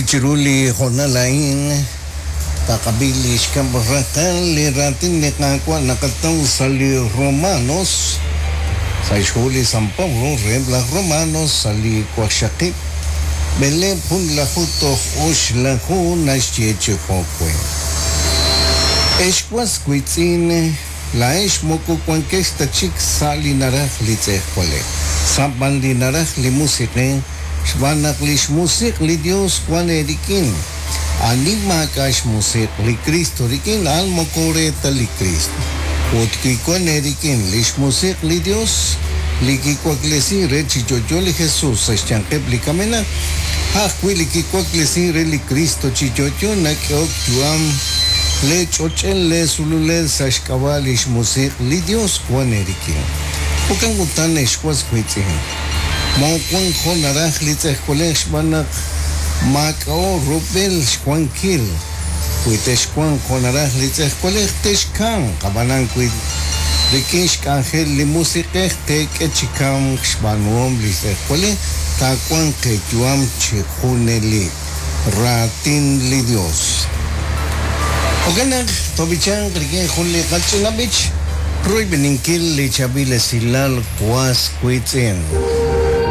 Chiru li hoonal a'in taqab'i li xkab' raqal li raatin li Qaawa' naqataw sa' li Romanos, sa' xhu li San Pablo reheb' laj Romanos sa' li waqxaqib' b'eleeb' junlaju toj oxlaju naxye chi jo'we'. Ex was wiitz'in, laa'ex moko wankex ta chik sa' li naraj li tz'ejwalej, sa' b'an li naraj li Musiq'ej, xb'aan naq li xMusiq' li Yos wank eerik'in. Ani maak'a' xMusiq' li Kristo rik'in, a'an moko re ta li Kristo. Ut wi wank eerik'in li xMusiq' li Yos, li kiwaklesink re chi yo'yo li Jesus sa' xyanqeb' li kamenaq, a' ajwi' li kiwaklesink re li Kristo chi yo'yo nak'ehok yu'am leech'och'el leesululel sa' xk'ab'a' li xMusiq' li Yos wank eerik'in. Jo'kan utan, ex was wiitz'in, Moowank jo' naraj li tz'ejwalej xb'aan naq maak'a'o rub'el xwankil. Wi texwanq jo' naraj li tz'ejwalej, texkamq, ab'anan wi rik'in xk'anjel li Musiq'ej teek'e chi kamk xb'aanuhom li tz'ejwalej, taawanq eeyu'am chi junelik. Raatin li Yos. Jo'kan naq toob'ichanq rik'in jun li qach'ina b'ich, royb'eninkil li chaab'il esilal was wiitz'in.